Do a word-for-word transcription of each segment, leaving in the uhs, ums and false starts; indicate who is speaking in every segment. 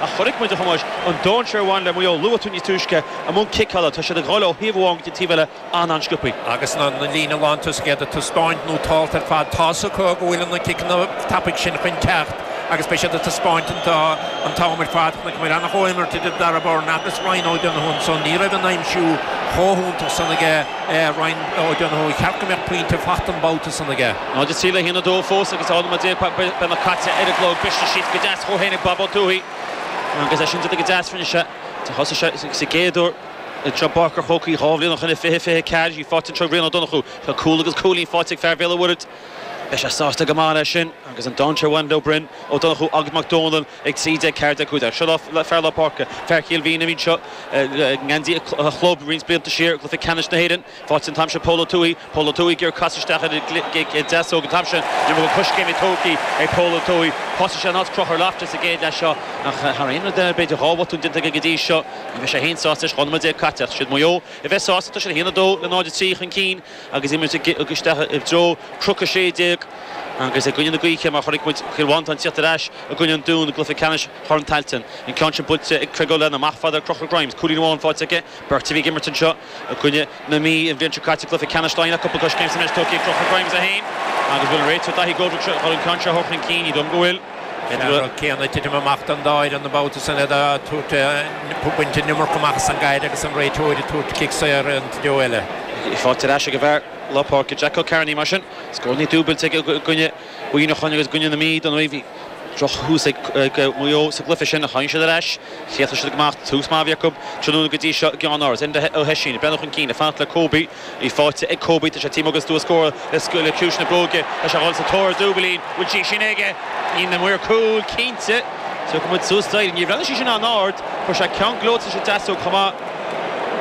Speaker 1: Ach chonaic muid, a Thomáis, an dainséar a bhain le Maigh Eo, luaigh tú níos túisce i mbun ciceála, tá siad ag dhul ó thaobh amháin go dtí an taobh eile an-an-sciobtha.
Speaker 2: Agus na líne lántosaigh iad ag taispeáint nótálta ar fad, tá's acu go bhfuil na ciceanna tapaidh sin chun teacht agus beidh siad ag taispeáint an t-am ar fad. Chonaic muid an-chomhimirt idir Darragh Beirne agus Ryan O'Donoghue ansan. Ní raibh an aimsiú chomh hiontach san aige Ryan O'Donoghue. Cheart go mbeadh pointe faighte an babhta san aige.
Speaker 1: náid a trí le haon a dó fós agus dhá nóiméad déag beagnach caite ar an gclog. Briste síos go deas dhó féin ag Bob Ó Tuathaigh agus é sin déanta go deas rinne sé. Thosaigh sé sa gcéad uair anseo i bPáirc an Chrócaigh dhá bhliain ó shin i fiche fiche ceathair. Í faighte anseo ag Rian Ó Donnchú. Tá cúl agus cúilín faighte ag fear Bhéal an Mhuirthead. Beidh sé sásta go maith leis sin agus an dainséar a bhain leo Broin, Ó Donnchú agus Mac Dónaill ag trí déag ceathair déag cúig déag. Seo le fear lár páirce, fear Chill Mhín a bhí anseo i ngeansaí a chlub roinnt blianta siar i gcluiche ceannais na hÉireann. Faighte an t-am sin Pól Ó Tuathaigh. Pól Ó Tuathaigh ag iarraidh casadh isteach ar an deasóg an t-am sin. Ní raibh coiscéim tógtha ag Pól Ó Tuathaigh. Thosaigh sé in áit Conchúr Loftus sa gcéad leath seo ach thar aon rud eile b'fhéidir dhá bhotún déanta aige go dtí seo. Ní bheidh sé féin sásta leis dhá nóiméad déag caite ach siad Maigh Eo a bheith sásta. Tá siad a haon a dó le náid a trí chun cinn agus imirt isteach i dtreo Cnoc a sé déag agus i gcoinne na gaoithe mar chonaic muid Cill Mhantáin tíocht ar ais i gcoinne an Dúin i gcluiche ceannais Chorn Tailteann. An ceann sin buailte ag Craig O'Lennon amach fada ar Conchúr Grimes. Cúilín amháin faighte aige. Beirt a bhí ag imirt anseo i gcoinne na Mí an bhliain seo caite i gcluiche ceannais Laighean ach cúpla coiscéim sa mbreis tógtha ag Conchúr Grimes é féin agus bhfuil an réiteoir Daithí Goldrick seo chun an ceann seo a thabhairt chun cinn? Ní dóigh liom go bhfuil.
Speaker 2: An rud céanna ag titim amach don dá fhoireann an babhta san iad ag tabhairt baint an iomarca amach as an gcaid agus an réiteoir ag tabhairt cic saor an treo eile.
Speaker 1: Faighte ar ais ag an bhfear lár páirce Jack O'Kearney mar sin. Scóranna dúbailte aige i gcoinne Mhuineacháin agus i gcoinne na Mí don bhí drochthús ag Maigh Eo sa gcluiche sin ach tháinig siad ar ais. Chríochnaigh siad go maith. Tús maith a bhí acu tráthnóna go dtí seo i gceann-áras. Enda Ó hOisín ag breathnú chun cinn ag fanacht le Kobe. Í faighte ag Kobe. Tá sé taobh amuigh den stua scórála le ciumhais na bróige. Tá sé a dhul sa tóir ar dúbailín. Bhfuil sí sin aige? Níl na maoir cúil cinnte. Tiocfaidh muid suas d'éirinn. Níor bhreathnaigh sí sin an-ard. Chuir sé ceann gleoite sa deasóg chomh maith.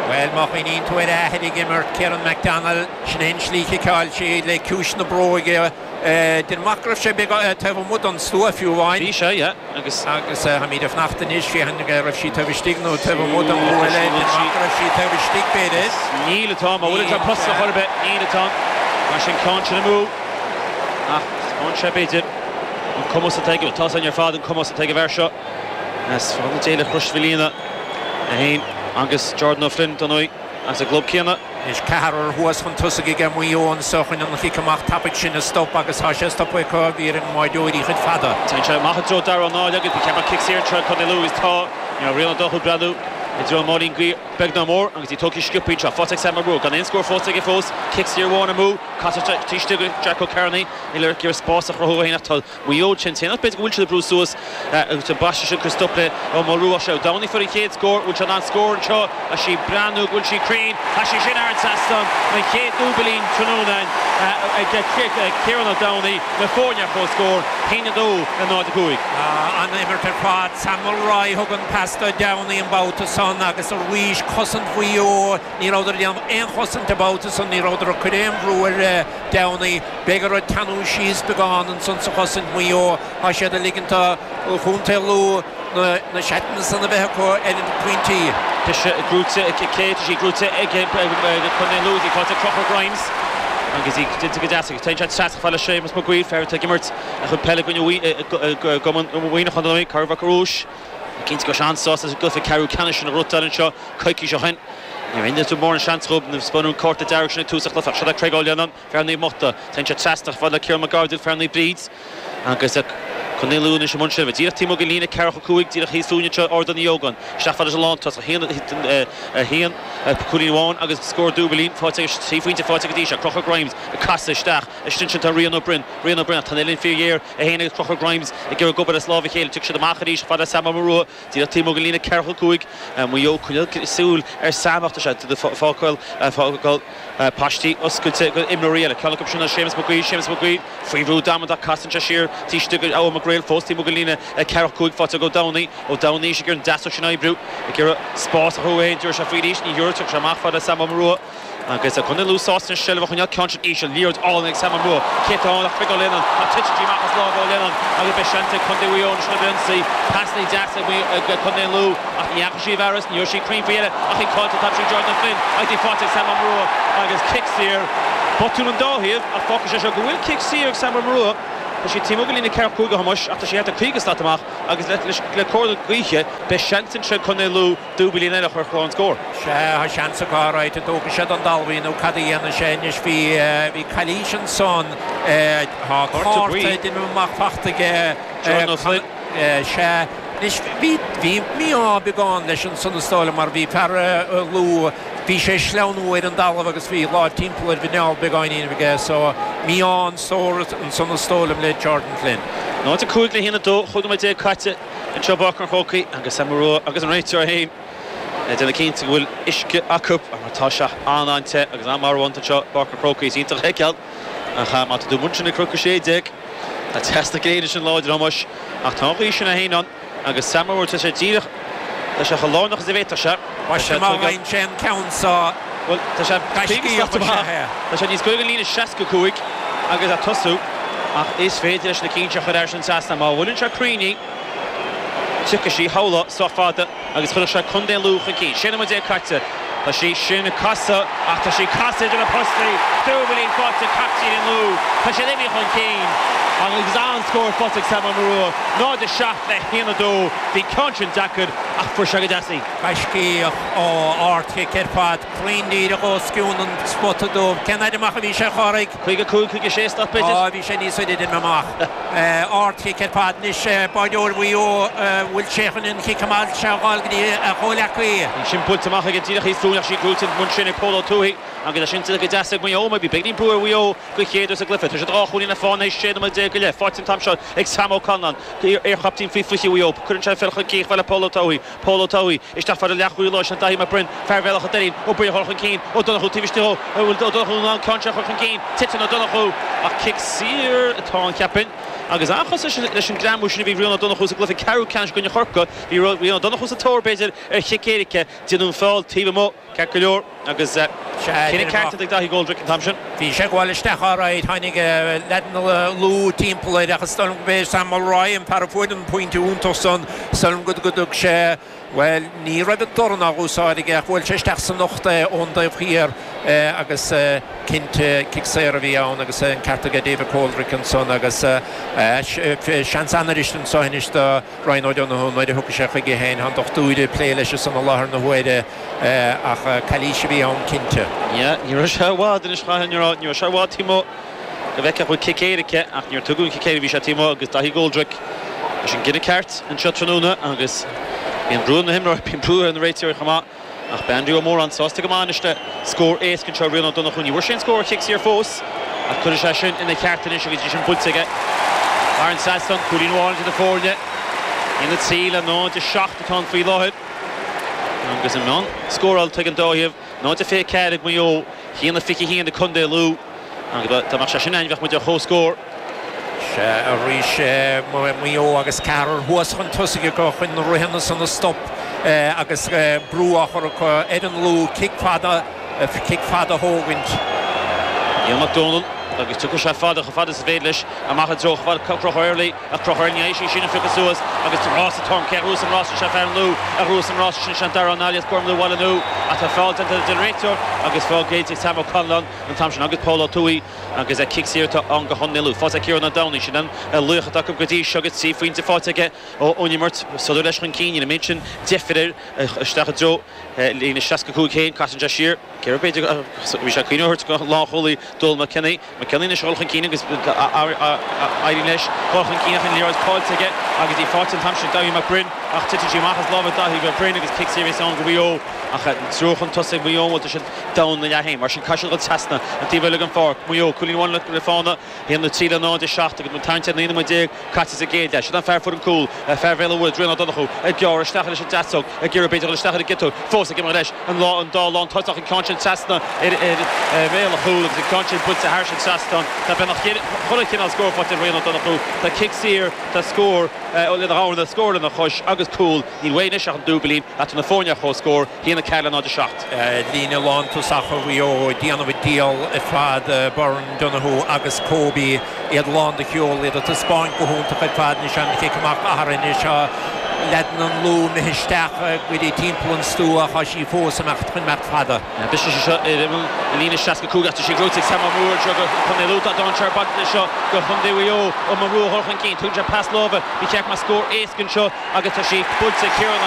Speaker 2: Bhuel, má chuimhníonn tú ar a athair ag imirt, Kieran McDonnell, sin é an slí chiceáil sí le ciumhais na bróige. Déanaim amach go raibh sé beag taobh amuigh den stua fiú amháin.
Speaker 1: Bhí sé, yeah. Agus.
Speaker 2: Agus táimid ag fanacht anois, féachaint an raibh sí taobh istigh nó taobh amuigh den gcuaille. Déanaim amach go raibh sí taobh istigh, b'fhéidir.
Speaker 1: Níl atá, má bhfuil atá posta chor ar bith, níl atá. Mar sin ceann sin amú. Ach taispeánann sé b'fhéidir an cumas atá aige, tá san ar fad an cumas atá ag an bhfear seo. As Fána Dé le Crois Mhaoilíona é féin agus Jordan O'Flynn don ndóigh as an gclub céanna.
Speaker 2: Anois ceathrar thuas chun tosaigh aige Maigh Eo anseo chun an chic amach tapaidh sin a stop agus tá sé stoptha acu bhí ar an mbáireoirí chuid fada.
Speaker 1: Téann sé amach i dtreo Dara Ó Náile agus bhí ceapadh cic saor anseo ag Contae Lú agus tá you know, Rian Ó Donnchú ag breathnú i dtreo an máilín gaoth beag ná mór agus í tógtha sciobtha anseo. Faighte ag Sam Mac Ruaidh gan aon scór fós aige fós. Cic saor amháin amú. Casadh taobh istigh go Jack O'Kearney. Níl ar iarraidh spás a chruthú féin ach tá Maigh Eo sin ach b'fhéidir go bhfuil siad ag brú suas agus an baiste sin chun stop le Ó Maolrua sé Ó Domhnaill fuair an chéad scór bhfuil sé in ann scór anseo tá sí ag breathnú go bhfuil sí cruinn tá sí sin thar an trasnán an chéad dúbailín tráthnóna ag Ciarán Ó Domhnaill na foirne ar comhscór haon a dó le náid a cúig.
Speaker 2: An imirt ar fad Sam Mulroy thug an pas do Downey an babhta san agus arís cosaint Mhaigh Eo ní rabhadar ag déanamh aon chosaint an babhta san ní rabhadar ag cur aon bhrú ar Downey b'fhéidir ag teannadh síos beagán ansan sa chosaint Mhaigh Eo tá siad ag ligint do Chontae Lú na seatanna san a bheith acu ar na pointí.
Speaker 1: Tá sé gnóite ag Kate, tá sí gnóite ag Contae Lú, í faighte ag Conchúr Grimes agus í déanta go deas agus téann sé trasna fad le Séamus Mac Guill, fear atá ag imirt a chuid peile i gcoinne gCumann Mhuineacháin don ndóigh, Corr Mhic Rúis. Cinnte go raibh sé an-sásta sa gcluiche ceathrú ceannais sin a ghnóthachtáil anseo coicís ó shin. Níor aon tú mórán seans dhóibh nuair a spáineadh an cárta dearg sin ag tús an chluiche. Seo é Craig O'Lennon, fear Naomh Mochta. Téann sé trasna fad le Ciarán McGardill, fear Naomh Bríd. Agus Contae Lú anois i mbun seilbhe. Díreach taobh amuigh den líne ceathracha cúig, díreach thíos fúinn anseo, Ardán Uí Ógáin. Isteach fad leis an lántosach. A haon, a haon, cúilín amháin agus scór dúbailín faighte aige, trí phointe faighte go dtí seo. Conchúr Grimes ag casadh isteach. Istigh ansin tá Rian Ó Broin. Rian Ó Broin ach tá an uillinn fíorghéar. É féin agus Conchúr Grimes ag iarraidh obair as lámh a chéile. Tiocfaidh siad amach arís fad le Sam Ó Murua. Díreach taobh amuigh den líne ceathracha cúig. Maigh Eo coinneáil súil ar Sam ach tá sé ag fágáil fágáil paistí oscailte go imreoirí eile. Ceann acu sin ná Séamus Mac Guill. Séamus Mac Guill faoi bhrú damanta casann sé siar taobh istigh go Eoin Mac Gréil fós taobh amuigh den líne ceathracha cúig faighte ag Ó Domhnaill. Ó Domhnaill ag iarraidh an deasóg sin a oibriú. Ag iarraidh spás a chruthú féin. Dúirt sé faoi arís. Ní thiúrfaidh. Tiocfaidh sé amach fad le Sam Ó Murua. Agus Contae Lú sásta anois seilbh a choinneáil ceann sin íseal, liathróid álainn ag Sam Ó Murua. Cé atá ann ach Craig O'Lennon ach titeann sí amach as lámh O'Lennon agus beidh seans ag Contae Mhaigh Eo anois chun ionsaí. Pasanna deasa ag Contae Lú ach ní dheachaigh sí i bhfearas, ní raibh sí cruinn faoi dheireadh ach í caillte an t-am sin Jordan O'Flynn agus í faighte ag Sam Ó Murua agus cic saor. Botún an dá thaobh ach fágfaidh sé seo go bhfuil cic saor ag Sam Ó Murua Tá sí taobh amuigh den líne ceathracha cúig a Thomáis ach tá sí thart ar caoga slat amach agus le cóir na gaoithe beidh seans anseo Contae Lú dúbailín eile a chur ar chlár an scóir.
Speaker 2: Sea, tá seans acu alright an dtógfaidh siad an talamh nó cad a dhéanfaidh sé anois bhí bhí calaois ansan tá cárta duine amach fachta aige
Speaker 1: Jordan O'Flynn.
Speaker 2: Sea, anois bhí bhí mí-ádh beagán leis ansan is dóigh liom mar bhí fear Lú bhí sé sleamhnú ar an dtalamh agus bhí lámh timpeall ar mhuineál beagáinín aige so mí-ádh an stór ansan is dóigh liom le Jordan Flynn.
Speaker 1: Náid a cúig le haon a dó chúig nóiméad déag caite anseo i bPáirc an Chrócaigh agus Sam Rua agus an réiteoir féin ag déanamh cinnte go bhfuil uisce acu mar tá sé an-an-te agus an-mharbhánta anseo i bPáirc an Chrócaigh. Is iontach a fheiceáil ach má tá tú amuigh ansin ag Cnoc a sé déag tá teas na gréine sin láidir Thomáis ach tá an ghaoth sin féin ann agus Sam Rua tá sé díreach tá sé chomh lárnach is a bhféadfadh sé.
Speaker 2: Tá sé má bhain sé an ceann seo
Speaker 1: Bhuel tá sé
Speaker 2: Gaiscíoch
Speaker 1: caoga
Speaker 2: ba ea é.
Speaker 1: Tá sé níos gaire don líne seasca cúig agus ag tosú ach is féidir leis na cinn seo a chur thar an trasnán má bhuaileann sé cruinn í tiocfaidh sí shamhlófá sách fada agus chuirfeadh sé Contae Lú chun cinn. Sé nóiméad déag caite Tá sí sin ag casadh ach tá sí casadh idir na postaí dúbailín faighte captaen an Lú Tá sé imithe chun cinn agus an-scór faighte ag Sam Ó Murua náid a seacht le haon a dó bhí ceann sin deacair ach fuair sé go deas í.
Speaker 2: Gaiscíoch ó ardchic ar fad cruinn díreach os cionn an spota dubh. Cén fhaid amach a bhí sé a Chárthaigh?
Speaker 1: Caoga cúig caoga sé slat b'fhéidir?
Speaker 2: Á bhí sé níos faide den amach. Ardchic ar fad anois báideoir Mhaigh Eo bhfuil sé chun an chic amach seo a fháil go dtí a chomhghleacaí.
Speaker 1: Sin buailte amach aige díreach thíos fúinn ach sí gnóite an sin ag Pól Ó Tuathaigh agus é sin go deas ag Maigh Eo bhí beagáinín brú ar Mhaigh Eo go chéad sa gcluiche. Tá sé dhá chúilín le fána sé nóiméad déag go leith. Faighte an t-am seo ag Sam Ó Conláin iarchaptaen faoi fiche Mhaigh Eo. Cuireann sé peil chun cinn le Pól Ó Tuathaigh. Pól Ó Tuathaigh isteach fad leathchúlaí leis an Daithí Mac Broin fear Bhéal Átha Doirín Ó Broin chun cinn Ó Donnchú taobh istigh ó Ó Donnchú an ceann seo chun cinn titeann Ó Donnchú ach cic saor atá ann cheapfainn agus an-chosúil leis an greamú sin a bhí Rian Ó Donnchú sa gcluiche ceathrú ceannais i gcoinne Chorcaí bhí Rian Ó Donnchú sa tóir b'fhéidir ar chic éirice déanamh feall taobh amuigh ceart go leor agus cinneadh ceart ag Daithí Goldrick an t-am sin.
Speaker 2: Bhí sé gabháil isteach alright tháinig leaideanna Lú timpeall air agus dóigh liom go Sam Mulroy an fear a fuair an pointe iontach san dóigh liom go dtug sé well ní raibh an dorn á úsáid aige ach bhuail sé isteach san ucht é ón dtaobh thiar agus cinnte cic saor a bhí ann agus an ceart aige David Coldrick ansan agus seans an-arís anseo anois do Ryan O'Donoghue nuair a thug sé chuige féin an dochtúir ag plé leis san i láthair na huaire ach calaois a bhí ann cinnte.
Speaker 1: Yeah, ní raibh sé i bhfad anois chaithfinn a rá, ní raibh sé i bhfad taobh amuigh go bhfeicfeadh bhfuil cic éirice ach níor tugadh an cic éirice bhí sé taobh amuigh agus Daithí Goldrick leis an gcinneadh ceart anseo tráthnóna agus bíonn brú na himreoirí bíonn brú ar na réiteoirí chomh maith ach beidh Andrew Ó Móráin sásta go maith anois le scór éasca anseo Rian Ó Donnchú ní bhfuair sé an scór ar chic saor fós ach cuirfidh sé sin ina cheart anois agus í sin buailte aige thar an trasnán cúilín amháin idir na foirne aon a trí le náid a seacht atá ann faoi láthair agus an meán scóráilte ag an dá thaobh náid a fiche ceathair ag Maigh Eo haon a fiche haon ag Contae Lú agus dá mbeadh sé sin ann bheadh muid ar chomhscór.
Speaker 2: Sé arís Maigh Eo agus ceathrar thuas chun tosaigh acu chun na rithena san a stop agus brú á chur acu ar an Lú cic fada cic fada thógaint.
Speaker 1: Neil McDonald agus tiocfaidh sé fada chomh fada is a féidir leis amach i dtreo Conchúr Early ach Conchúr Early sí sin an phiocadh suas agus rás atá cé ruas an rás sé fear an Lú a ruas an rás sin sin Dara Nálias Gormlú Bhaile Nua atá feall déanta den réiteoir agus feall géillte ag Sam Ó Conláin an t-am sin agus Paul Ó Tuathaigh agus cic saor atá ann go Chontae Lú. Faighte ag Ciarán Ó Domhnaill sin an laoch atá acu go dtí seo agus trí phointe faighte aige ón imirt sodar leis chun cinn ina méid sin deifir air isteach i dtreo líne seasca cúig féin casann sé siar cé b'fhéidir bhí sé cuimhneamh go lánchúlaí Dónal McKinney McKinney anois dul chun cinn agus éiríonn leis dul chun cinn ach an liathróid caillte aige agus í faighte an t-am sin Daithí McBrinn ach titeann sí amach as lámha Daithí McBrinn agus cic saor ann go Mhaigh Eo ach triúr chun tosaigh Mhaigh Eo bhfuil siad down na leath féin mar sin caithfidh siad dul trasna an taobh eile den pháirc Maigh Eo cúilín amháin le fána haon a trí le náid a seacht agus an t-am naoi nóiméad déag caite sa gcéad leath. Sin an fear fuair an cúl fear Bhéal an Mhuirthead Rian Ó Donnchú ag gearradh isteach leis an deasóg ag iarraidh b'fhéidir dul isteach ar an gciotóg fós ag imeacht leis an lá an dá lán tosach an ceann sin trasna ar ar bhéal an chúil agus an ceann sin buailte thar an trasnán tá beagnach chuile chineál scór faighte ag Rian Ó Donnchú tá cic saor tá scór lena dhamhna scór lena chois agus cúl níl uaidh anois ach an dúbailín atá na foirne ar chomhscór haon a ceathair le náid a seacht.
Speaker 2: Líne lántosach Mhaigh Eo déanamh a díol ar fad Byrne Donoghue agus Kobe iad lán de cheol iad ag taispeáint go hiontach ar fad anois an chic amach athair anois seo Leaideanna an Lú imithe isteach go dtí timpeall an stua tá sí fós amach chun imeacht fada.
Speaker 1: Bis seo líne seasca cúig sí gnóthaithe ag Sam Moore seo go chun lú dainséar seo go chun Mhaigh Eo ó mar ruú chun cinn, tugann sé pas láimhe bhí cheach mar scór éasca anseo agus tá sí buailte Ciarán